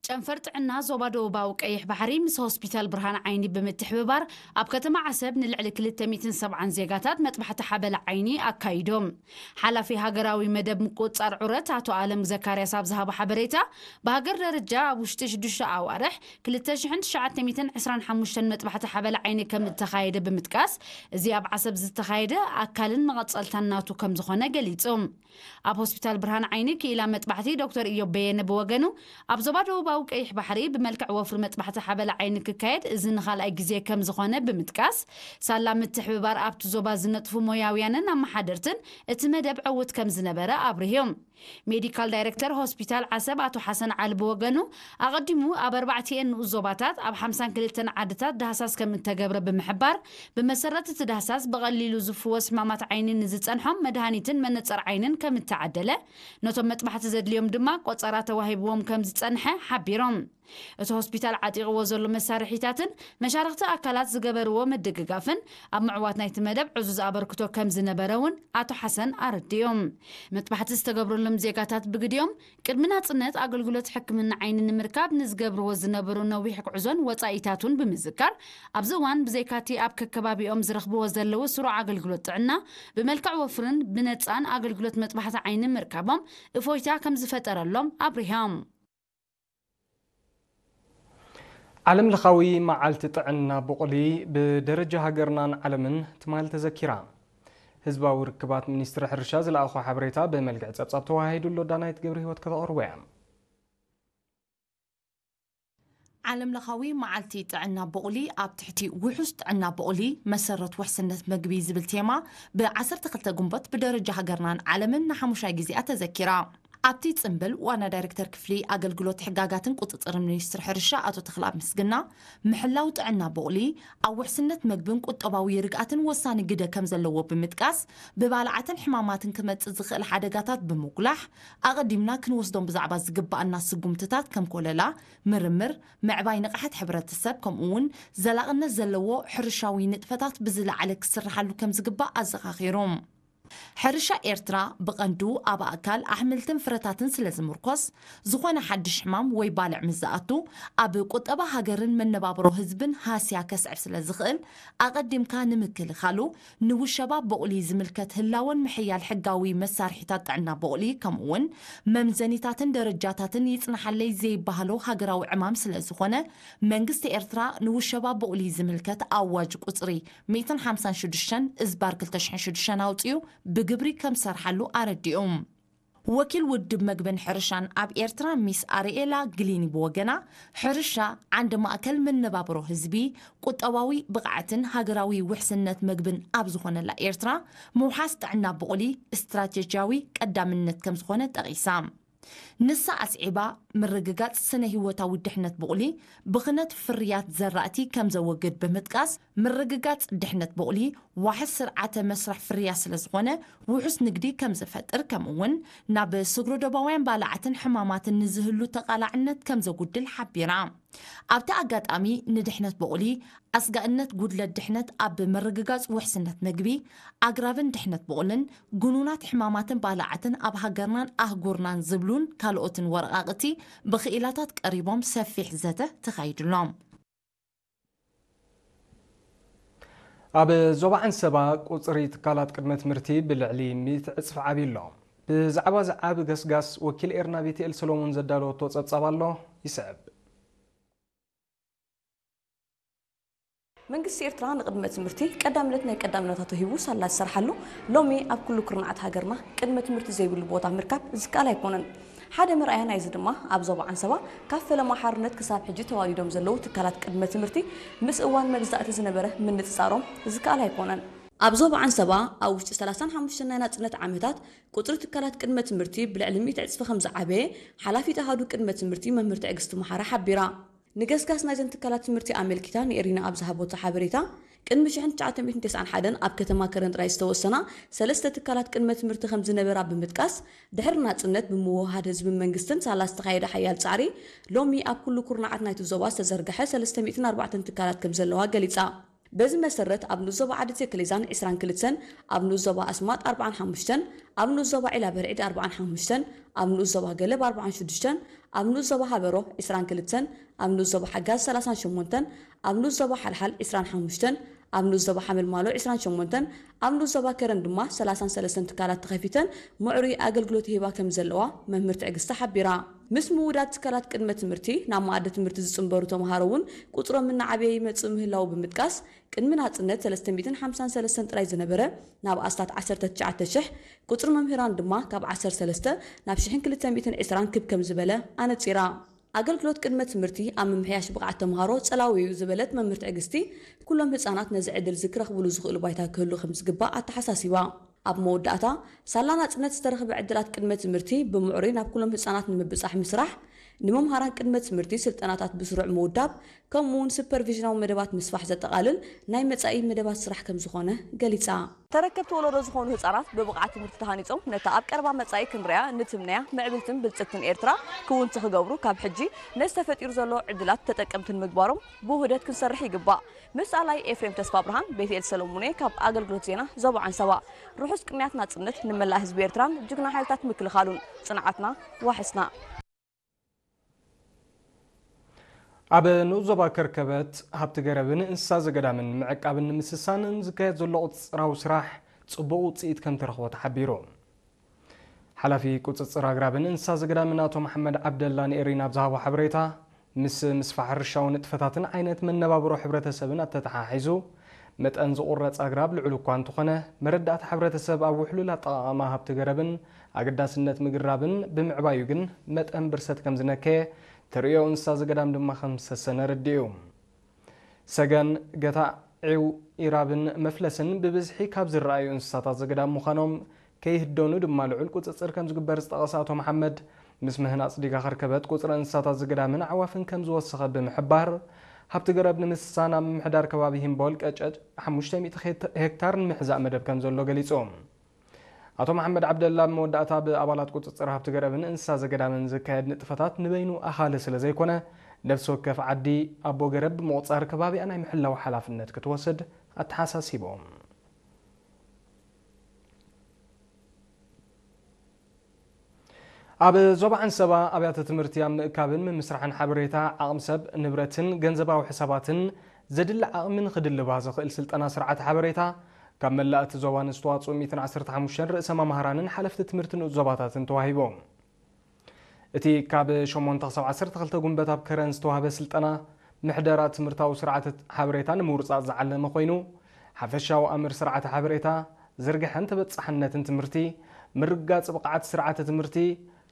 ጨንፈር ጥዕና ዞባ ደቡባዊ ቀይሕ ባሕሪ ምስ ሆስፒታል ብርሃን ዓይኒ ብምትሕብባር ኣብ ከተማ ዓሰብ ንልዕሊ ክልተ ሚእትን ሰብዓን ዜጋታት መጥባሕቲ ሓበላ ዓይኒ ኣካይዶም። ሓላፊ ሃገራዊ መደብ ምቁጽጻር ዑረት ኣቶ ኣለም ዘካርያስ ኣብ ዝሃቦ ሓበሬታ፣ ብሃገር ደረጃ ኣብ ውሽጢ ሽዱሽተ ኣዋርሕ ክልተ ሽሕን ትሽዓተ ሚእትን ዕስራን ሓሙሽተን መጥባሕቲ ሓበላ ዓይኒ ከም እተኻየደ ብምጥቃስ፣ እዚ ኣብ ዓሰብ ዝተኻየደ ኣካልን መቐጸልታን ናቱ ከም ዝኾነ ገሊጹ። ኣብ ሆስፒታል ብርሃን ዓይኒ ክኢላ መጥባሕቲ ዶክተር ኢዮብ በየነ ብወገኑ፣ ኣብ ዞባ ደቡባዊ ቀይሕ ባሕሪ ብመልክዕ ወፍሪ መጥባሕቲ ሓበላ ዓይኒ ክካየድ እዚ ንኻልኣይ ግዜ ከም ዝኾነ ብምጥቃስ፣ ሳላ ምትሕብባር ኣብቲ ዞባ ዝነጥፉ ሞያውያንን ኣመሓደርትን እቲ መደብ ዕዉት ከም ዝነበረ ኣብሪሁ። ሜዲካል ዳይሬክተር ሆስፒታል ዓሰብ ኣቶ ሓሰን ዓሊ ብወገኑ፣ ኣቐዲሙ ኣብ ኣርባዕቲኤን ንኡስ ዞባታት ኣብ ሓምሳን ክልተን ዓድታት ዳህሳስ ከም እተገብረ ብምሕባር፣ ብመሰረት እቲ ዳህሳስ ብቐሊሉ ዝፍወስ ሕማማት ዓይኒ ንዝጸንሖም መድሃኒትን መነጸር ዓይንን ከም እተዓደለ፣ ነቶም መጥባሕቲ ዘድልዮም ድማ ቆጸራ ተዋሂብዎም ከም ዝጸንሐ ሓቢሮም። እቲ ሆስፒታል ዓጢቕዎ ዘሎ መሳርሒታትን መሻርኽቲ ኣካላት ዝገበርዎ ምድግጋፍን ኣብ ምዕዋት ናይቲ መደብ ዕዙዝ ኣበርክቶ ከም ዝነበረ እውን ኣቶ ሓሰን ኣረዲኦም። መጥባሕቲ ዝተገብረሎም ዜጋታት ብግዲኦም፣ ቅድሚ ናጽነት ኣገልግሎት ሕክምና ዓይኒ ንምርካብ ንዝገብርዎ ዝነበሩ ነዊሕ ጉዕዞን ወጻኢታቱን ብምዝካር፣ ኣብዚ እዋን ብዘይካቲ ኣብ ከከባቢኦም ዝረኽብዎ ዘለዉ ስሩዕ ኣገልግሎት ጥዕና፣ ብመልክዕ ወፍርን ብነጻን ኣገልግሎት መጥባሕቲ ዓይኒ ምርካቦም እፎይታ ከም ዝፈጠረሎም ኣብሪሆም። ዓለም ለኻዊ መዓልቲ ጥዕና ቡቕሊ ብደረጃ ሃገርናን ዓለምን ትማሊ ተዘኪራ። ህዝባዊ ርክባት ሚኒስትሪ ሕርሻ ዝለኣኾ ሓበሬታ ብመልክዕ ጸብጻብ ተወሃሂዱ ኣሎ። ዳናይት ገብረ ህይወት ከተቕርቦ እያ። ዓለም ለኻዊ መዓልቲ ጥዕና ቡቕሊ ኣብ ትሕቲ ውሑስ ጥዕና ቡቕሊ መሰረት ውሕስነት መግቢ ዝብል ቴማ ብ ዓሰርተ ክልተ ግንቦት ብደረጃ ሃገርናን ዓለምን ንሓሙሻይ ግዜኣ ተዘኪራ። ኣብቲ ጽምብል ዋና ዳይሬክተር ክፍሊ ኣገልግሎት ሕጋጋትን ቁጽጽርን ሚኒስትሪ ሕርሻ ኣቶ ተኽለኣብ ምስግና፣ ምሕላው ጥዕና ቡቕሊ ኣብ ውሕስነት መግብን ቁጠባዊ ርግኣትን ወሳኒ ግደ ከም ዘለዎ ብምጥቃስ፣ ብባልዓትን ሕማማትን ክመጽእ ዝኽእል ሓደጋታት ብምጉላሕ፣ ኣቐዲምና ክንወስዶም ብዛዕባ ዝግባኣና ስጉምትታት ከም ኮለላ፣ ምርምር፣ ምዕባይ ንቕሓት ሕብረተሰብ፣ ከምኡ እውን ዘላቕነት ዘለዎ ሕርሻዊ ንጥፈታት ብዝለዓለ ክስርሓሉ ከም ዝግባእ ኣዘኻኺሩ። ሕርሻ ኤርትራ ብቐንዱ ኣብ ኣእካል ኣሕምልትን ፍረታትን ስለ ዝምርኮስ፣ ዝኾነ ሓድሽ ሕማም ወይ ባልዕ ምስ ዝኣቱ፣ ኣብ ቁጠባ ሃገርን መነባብሮ ህዝብን ሃስያ ከስዕብ ስለ ዝኽእል፣ ኣቐዲምካ ንምክልኻሉ ንውሸባ ቡቕሊ ዝምልከት ህላወን ምሕያል ሕጋዊ መሳርሒታት ጥዕና ቡቕሊ፣ ከምኡውን መምዘኒታትን ደረጃታትን ይጽናሓለይ ዘይበሃሎ ሃገራዊ ዕማም ስለ ዝኾነ፣ መንግስቲ ኤርትራ ንውሸባ ቡቕሊ ዝምልከት ኣዋጅ ቁጽሪ ሚእትን ሓምሳን ሽዱሽተን እዝባር ክልተ ሽሕን ሽዱሽተን ኣውጺኡ ብግብሪ ከም ዝሰርሓሉ ኣረዲኡ። ወኪል ውድብ መግብን ሕርሻን ኣብ ኤርትራ ሚስ ኣርኤላ ግሊኒ ብወገና፣ ሕርሻ ዓንዲ ማእከል መነባብሮ ህዝቢ፣ ቁጠባዊ ብቕዓትን ሃገራዊ ውሕስነት መግብን ኣብ ዝኾነላ ኤርትራ፣ ምውሓስ ጥዕና ቡቕሊ ስትራቴጂያዊ ቀዳምነት ከም ዝኾነ ጠቒሳ። ንሳ ኣስዒባ፣ ምርግጋጽ ስነ ህይወታዊ ድሕነት ቡቕሊ ብኽነት ፍርያት ዘራእቲ ከም ዘወግድ ብምጥቃስ፣ ምርግጋጽ ድሕነት ቡቕሊ ዋሕስ ስርዓተ መስርሕ ፍርያት ስለ ዝኾነ፣ ውሑስ ንግዲ ከም ዘፈጥር፣ ከምኡ እውን ናብ ስግረ ዶባውያን ባልዓትን ሕማማትን ንዝህሉ ተቓላዕነት ከም ዘጉድል ሓቢራ። ኣብቲ ኣጋጣሚ፣ ንድሕነት ቡቕሊ፣ ኣስጋእነት ጉድለት ድሕነት ኣብ ምርግጋጽ ውሕስነት መግቢ፣ ኣግራብን ድሕነት ቡቕልን፣ ግኑናት ሕማማትን ባልዓትን ኣብ ሃገርናን ኣህጉርናን ዝብሉን ካልኦትን ወረቓቕቲ ብክኢላታት ቀሪቦም ሰፊሕ ዘተ ተኻይዱሎም። ኣብ ዞባ ዓንሰባ ቁጽሪ ትካላት ቅድመ ትምህርቲ ብልዕሊ ሚእቲ ዕጽፊ ዓብዩ ኣሎ። ብዛዕባ እዚ ዓቢ ገስጋስ ወኪል ኤርና ቤትኤል ሰሎሞን ዘዳለወቶ ጸብጻብ ኣሎ፣ ይስዕብ። መንግስቲ ኤርትራ ንቅድመ ትምህርቲ ቀዳምነት ናይ ቀዳምነታቱ ሂቡ ሳላ ዝሰርሓሉ፣ ሎሚ ኣብ ኩሉ ኩርናዓት ሃገርና ቅድመ ትምህርቲ ዘይብሉ ቦታ ምርካብ ዝከኣል ኣይኮነን። ሓደ መርኣያ ናይዚ ድማ ኣብ ዞባ ዓንሰባ ካብ ፈለማ ሓርነት ክሳብ ሕጂ ተዋሊዶም ዘለዉ ትካላት ቅድመ ትምህርቲ ምስ እዋን መግዛእቲ ዝነበረ ምንጽጻሮም ዝከኣል ኣይኮነን። ኣብ ዞባ ዓንሰባ ኣብ ውሽጢ ሰላሳን ሓሙሽተን ናይ ናጽነት ዓመታት ቁጽሪ ትካላት ቅድመ ትምህርቲ ብልዕሊ ሚእቲ ዕጽፊ ከም ዝዓበየ ሓላፊት ኣሃዱ ቅድመ ትምህርቲ መምህር ትዕግስቲ መሓራ ሓቢራ። ንገስጋስ ናይዘን ትካላት ትምህርቲ ኣመልኪታ ንኤሪና ኣብ ዝሃበቶ ሓበሬታ፣ ቅድሚ ሽሕን ትሽዓተ ሚእትን ተስዓን ሓደን ኣብ ከተማ ከረን ጥራይ ዝተወሰና ሰለስተ ትካላት ቅድመ ትምህርቲ ከም ዝነበራ ብምጥቃስ፣ ድሕሪ ናጽነት ብምውህሃድ ህዝብን መንግስትን ሳላ ዝተኻየደ ሓያል ጻዕሪ፣ ሎሚ ኣብ ኩሉ ኩርናዓት ናይቲ ዞባ ዝተዘርግሐ ሰለስተ ሚእትን ኣርባዕተን ትካላት ከም ዘለዋ ገሊጻ። በዚ መሰረት ኣብ ንኡስ ዞባ ዓዲ ተከሌዛን ዕስራን ክልተን፣ ኣብ ንኡስ ዞባ ኣስማጥ ኣርባዓን ሓሙሽተን፣ ኣብ ንኡስ ዞባ ዒላ በርዒድ ኣርባዓን ሓሙሽተን፣ ኣብ ንኡስ ዞባ ገለብ ኣርባዓን ሽዱሽተን፣ ኣብ ንኡስ ዞባ ሃበሮ ዕስራን ክልተን፣ ኣብ ንኡስ ዞባ ሓጋዝ ሰላሳን ሸሞንተን፣ ኣብ ንኡስ ዞባ ሓልሓል ዕስራን ሓሙሽተን፣ ኣብ ንኡስ ዞባ ሓመልማሎ ዕስራን ሸሞንተን፣ ኣብ ንኡስ ዞባ ከረን ድማ ሰላሳን ሰለስተን ትካላት ተኸፊተን ምዕሩይ ኣገልግሎት ይህባ ከም ዘለዋ መምህር ትዕግስቲ ሓቢራ። ምስ ምውዳድ ትካላት ቅድመ ትምህርቲ ናብ መኣዲ ትምህርቲ ዝጽንበሩ ተምሃሮ እውን ቁጽሮም እናዓበየ ይመጽእ ምህላዉ ብምጥቃስ፣ ቅድሚ ናጽነት ሰለስተ ሚእትን ሓምሳን ሰለስተን ጥራይ ዝነበረ ናብ ኣስታት ዓሰርተ ትሽዓተ ሽሕ፣ ቁጽሪ መምህራን ድማ ካብ ዓሰርተ ሰለስተ ናብ ሽሕን ክልተ ሚእትን ዕስራን ክብ ከም ዝበለ ኣነጺራ። ኣገልግሎት ቅድመ ትምህርቲ ኣብ ምምሕያሽ ብቕዓት ተምሃሮ ጸላዊ እዩ ዝበለት መምህር ትዕግስቲ፣ ኩሎም ህጻናት ነዚ ዕድል እዚ ክረኽብሉ ዝኽእሉ ባይታ ክህሉ ከም ዝግባእ ኣተሓሳሲባ። ኣብ መወዳእታ፣ ሳላ ናጽነት ዝተረኽበ ዕድላት ቅድመ ትምህርቲ ብምዕሩይ ናብ ኩሎም ህጻናት ንምብጻሕ ምስራሕ፣ ንመምሃራን ቅድመ ትምህርቲ ስልጠናታት ብስሩዕ ምውዳብ፣ ከምኡ እውን ሱፐርቪዥናዊ መደባት ምስፋሕ ዘጠቓልል ናይ መጻኢ መደባት ስራሕ ከም ዝኾነ ገሊጻ። ተረከብቲ ወለዶ ዝኾኑ ህጻናት ብብቕዓት ትምህርቲ ተሃኒጾም ነታ ኣብ ቀረባ መጻኢ ክንሪኣ ንትምነያ ምዕብልትን ብልጽግትን ኤርትራ ክውንቲ ክገብሩ ካብ ሕጂ ነዚ ተፈጢሩ ዘሎ ዕድላት ተጠቀምቲ ንምግባሮም ብውህደት ክንሰርሕ ይግባእ። ምስ ኣላይ ኤፍሬም ተስፋ ብርሃን፣ ቤትኤል ሰለሙኔ ካብ ኣገልግሎት ዜና ዞባ ዓንሰባ። ርሑስ ቅንያት ናጽነት ንመላእ ህዝቢ ኤርትራን ጅግና ሓይልታት ምክልኻሉን። ጽንዓትና ዋሕስና። ኣብ ንኡስ ዞባ ከርከበት ሃብቲ ገረብን እንስሳ ዘገዳምን ምዕቃብን ንምስሳንን ዝካየድ ዘሎ ቁጽጽራዊ ስራሕ ጽቡቕ ውጽኢት ከም ተረኽቦ ተሓቢሩ። ሓላፊ ቁጽጽር ኣግራብን እንስሳ ዘገዳምን ኣቶ መሓመድ ዓብደላ ንኤሪና ኣብ ዝሃቦ ሓበሬታ፣ ምስ ምስፋሕ ሕርሻዊ ንጥፈታትን ዓይነት መነባብሮ ሕብረተሰብን ኣተተሓሒዙ፣ መጠን ዝቑረጽ ኣግራብ ልዑል እኳ እንተኾነ፣ መረዳእታ ሕብረተሰብ ኣብ ውሕሉል ኣጠቓቕማ ሃብቲ ገረብን ኣገዳስነት ምግራብን ብምዕባዩ ግን መጠን ብርሰት ከም ዝነከየ፣ ተርእዮ እንስሳ ዘገዳም ድማ ከም ዝሰሰነ ኣረዲኡ። ሰገን፣ ገታዒው፣ ኢራብን መፍለስን ብብዝሒ ካብ ዝረኣዩ እንስሳታት ዘገዳም ምዃኖም ከይህደኑ ድማ ልዑል ቁጽጽር ከም ዝግበር ዝጠቐሰ ኣቶ መሓመድ፣ ምስ ምህናጽ ዲጋ ከርከበት ቁጽሪ እንስሳታት ዘገዳምን ኣዕዋፍን ከም ዝወሰኸ ብምሕባር፣ ሃብቲ ገረብ ንምስሳን ኣብ ምምሕዳር ከባቢ ሂምቦል ቀጨጭ ሓሙሽተ ሚእቲ ሄክታር ንምሕዛእ መደብ ከም ዘሎ ገሊጹ። ኣቶ መሓመድ ዓብደላ ኣብ መወዳእታ፣ ብኣባላት ቁጽጽር ሃብቲ ገረብን እንስሳ ዘገዳምን ዝካየድ ንጥፈታት ንበይኑ ኣኻሊ ስለ ዘይኮነ፣ ነፍሲ ወከፍ ዓዲ ኣቦ ገረብ ብምቑጻር ከባቢኣ ናይ ምሕላው ሓላፍነት ክትወስድ ኣተሓሳሲቦም። ኣብ ዞባ ዓንሰባ ኣብያተ ትምህርቲ ኣብ ምእካብን ምምስራሕን ሓበሬታ፣ ዓቕሚ ሰብ፣ ንብረትን ገንዘባዊ ሕሳባትን ዘድሊ ዓቕሚ ንኽድልባ ዘኽእል ስልጠና ስርዓተ ሓበሬታ ካብ መላእ እቲ ዞባ ንዝተዋፅኡ ሚእትን ዓሰርተ ሓሙሽተን ርእሰ መማህራንን ሓለፍቲ ትምህርቲ ንኡስ ዞባታትን ተዋሂቡ። እቲ ካብ ሸሞንተ ክሳብ ዓሰርተ ክልተ ጉንበት ኣብ ከረን ዝተዋህበ ስልጠና፣ ምሕደራ ትምህርታዊ ስርዓተ ሓበሬታ ንምውርጻእ ዝዓለመ ኮይኑ፣ ሓፈሻዊ ኣምር ስርዓተ ሓበሬታ፣ ዝርግሐን ተበጻሕነትን ትምህርቲ፣ ምርግጋጽ ብቕዓት ስርዓተ ትምህርቲ፣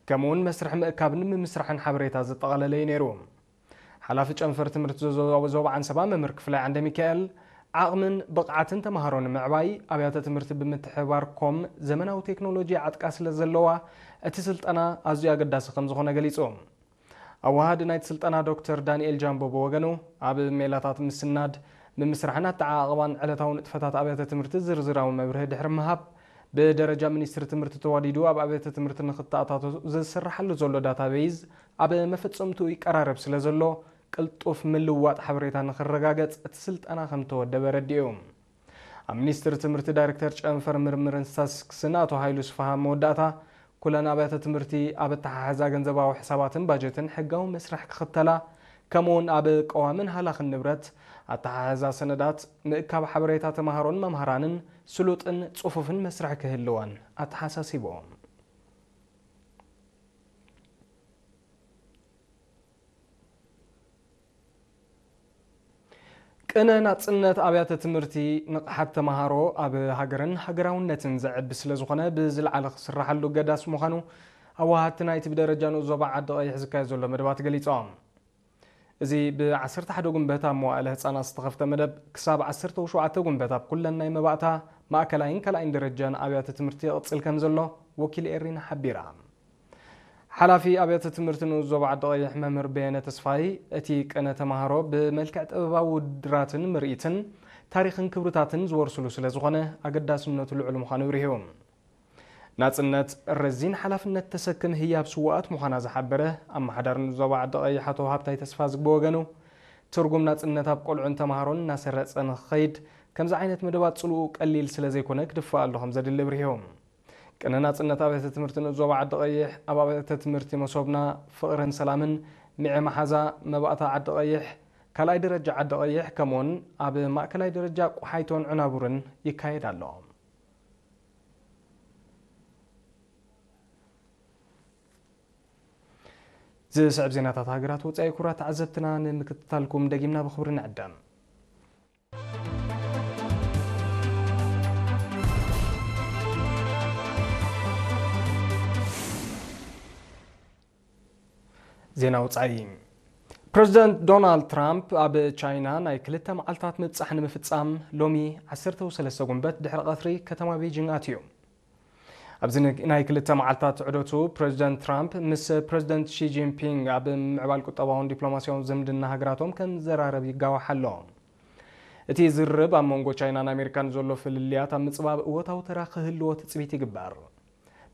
ከምኡውን መስርሕ ምእካብን ምምስራሕን ሓበሬታ ዘጠቓለለ እዩ ነይሩ። ሓላፊ ጨንፈር ትምህርቲ ዞ-፣ ዞ-፣ ዞባ ዓንሰባ መምህር ክፍላይ ዓንደ ሚካኤል፣ ዓቕምን ብቕዓትን ተምሃሮ ንምዕባይ ኣብያተ ትምህርቲ ብምትሕብባር ኮም ዘመናዊ ቴክኖሎጂ ዓጥቃ ስለ ዘለዋ፣ እቲ ስልጠና ኣዝዩ ኣገዳሲ ከም ዝኾነ ገሊጹ። ኣወሃዲ ናይቲ ስልጠና ዶክተር ዳንኤል ጃምቦ ብወገኑ፣ ኣብ ሜላታት ምስናድ፣ ምምስራሕን ኣተዓቓቕባን ዕለታዊ ንጥፈታት ኣብያተ ትምህርቲ ዝርዝራዊ መብርሂ ድሕሪ ምሃብ፣ ብደረጃ ሚኒስትሪ ትምህርቲ ተዋዲዱ ኣብ ኣብያተ ትምህርቲ ንኽተኣታቶ ዝስርሓሉ ዘሎ ዳታቤይዝ ኣብ መፈጸምትኡ ይቀራረብ ስለ ዘሎ፣ ቅልጡፍ ምልውዋጥ ሓበሬታ ንኽረጋገጽ እቲ ስልጠና ከም ተወደበ ኣረዲኡ። ኣብ ሚኒስትሪ ትምህርቲ ዳይሬክተር ጨንፈር ምርምርን ስታትስቲክስን ኣቶ ሃይሉ ስፍሃ መወዳእታ፣ ኩለን ኣብያተ ትምህርቲ ኣብ ኣተሓሕዛ ገንዘባዊ ሕሳባትን ባጀትን ሕጋዊ መስርሕ ክኽተላ፣ ከምኡውን ኣብ ቀዋምን ሃላኽን ንብረት፣ ኣተሓሕዛ ሰነዳት፣ ምእካብ ሓበሬታ ተምሃሮን መምሃራንን ስሉጥን ጽፉፍን መስርሕ ክህልወን ኣተሓሳሲቦም። ቅነ ናጽነት ኣብያተ ትምህርቲ ንቕሓት ተምሃሮ ኣብ ሃገርን ሃገራውነትን ዘዕቢ ስለ ዝኾነ፣ ብዝለዓለ ክስራሓሉ ገዳስ ምዃኑ ኣወሃድቲ ናይቲ ብደረጃ ንኡስ ዞባ ዓዲ ቀይሕ ዝካየድ ዘሎ መደባት ገሊጾም። እዚ ብ ዓሰርተ ሓደ ጉንበት ኣብ መዋእለ ህጻናት ዝተኸፍተ መደብ፣ ክሳብ ዓሰርተ ሸውዓተ ጉንበት ኣብ ኩለን ናይ መባእታ፣ ማእከላይን ካልኣይን ደረጃን ኣብያተ ትምህርቲ ይቕጽል ከም ዘሎ ወኪል ኤሪና ሓቢራ። ሓላፊ ኣብያተ ትምህርቲ ንኡስ ዞባ ዓዲ ቀይሕ መምህር በየነ ተስፋይ፣ እቲ ቅነ ተምሃሮ ብመልክዕ ጥበባዊ ውድድራትን ምርኢትን ታሪኽን ክብርታትን ዝወርስሉ ስለ ዝኾነ ኣገዳስነቱ ልዑል ምዃኑ ኣብሪሁ። ናጽነት ረዚን ሓላፍነት ተሰክም ህያብ ስዉኣት ምዃና ዝሓበረ ኣመሓዳሪ ንኡስ ዞባ ዓዲ ቀይሕ ኣቶ ሃብታይ ተስፋዝጊ ብወገኑ፣ ትርጉም ናጽነት ኣብ ቆልዑን ተማሃሮን እናሰረጸ ንኽኸይድ፣ ከምዚ ዓይነት መደባት ጽልኡ ቀሊል ስለ ዘይኮነ ክድፋእ ኣሎ ከም ዘድሊ ኣብሪሆም። ቅነ ናጽነት ኣብያተ ትምህርቲ ንኡስ ዞባ ዓዲ ቀይሕ፣ ኣብ ኣብያተ ትምህርቲ መሶብና፣ ፍቕርን ሰላምን፣ ሚዐ መሓዛ፣ መባእታ ዓዲ ቀይሕ፣ ካልኣይ ደረጃ ዓዲ ቀይሕ፣ ከምኡውን ኣብ ማእከላይ ደረጃ ቆሓይቶን ዕናቡርን ይካየድ ኣሎ። ዝስዕብ ዜናታት ሃገራት ወጻኢ ክቡራት ተዓዘብትና ንምክትታልኩም ደጊምና ብኽብሪ ንዕደም። ዜና ወጻኢ። ፕረዚደንት ዶናልድ ትራምፕ ኣብ ቻይና ናይ ክልተ መዓልታት ምብጻሕ ንምፍጻም ሎሚ ዓሰርተ ሰለስተ ጉንበት ድሕሪ ቀትሪ ከተማ ቤጂንግ ኣትዩ። ኣብዚ ን-፣ ናይ ክልተ መዓልታት ዑደቱ ፕረዚደንት ትራምፕ ምስ ፕረዚደንት ሺ ጂንፒንግ ኣብ ምዕባል ቁጠባውን ዲፕሎማሲያውን ዝምድና ሃገራቶም ከም ዘራረብ ይጋዋሕ ኣሎ። እቲ ዝርርብ ኣብ መንጎ ቻይናን ኣሜሪካን ዘሎ ፍልልያት ኣብ ምጽባብ እወታዊ ተራ ክህልዎ ትጽቢት ይግበር።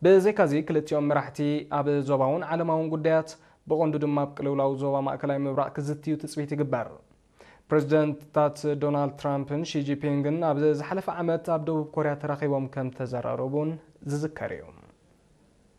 ብዘይካዚ ክልቲኦም መራሕቲ ኣብ ዞባውን ዓለማውን ጉዳያት ብቐንዱ ድማ ኣብ ቅልውላው ዞባ ማእከላይ ምብራቕ ክዝትዩ ትጽቢት ይግበር። ፕረዚደንታት ዶናልድ ትራምፕን ሺ ጂንፒንግን ኣብ ዝሓለፈ ዓመት ኣብ ደቡብ ኮርያ ተራኺቦም ከም ተዘራረቡን ዝዝከር እዩ።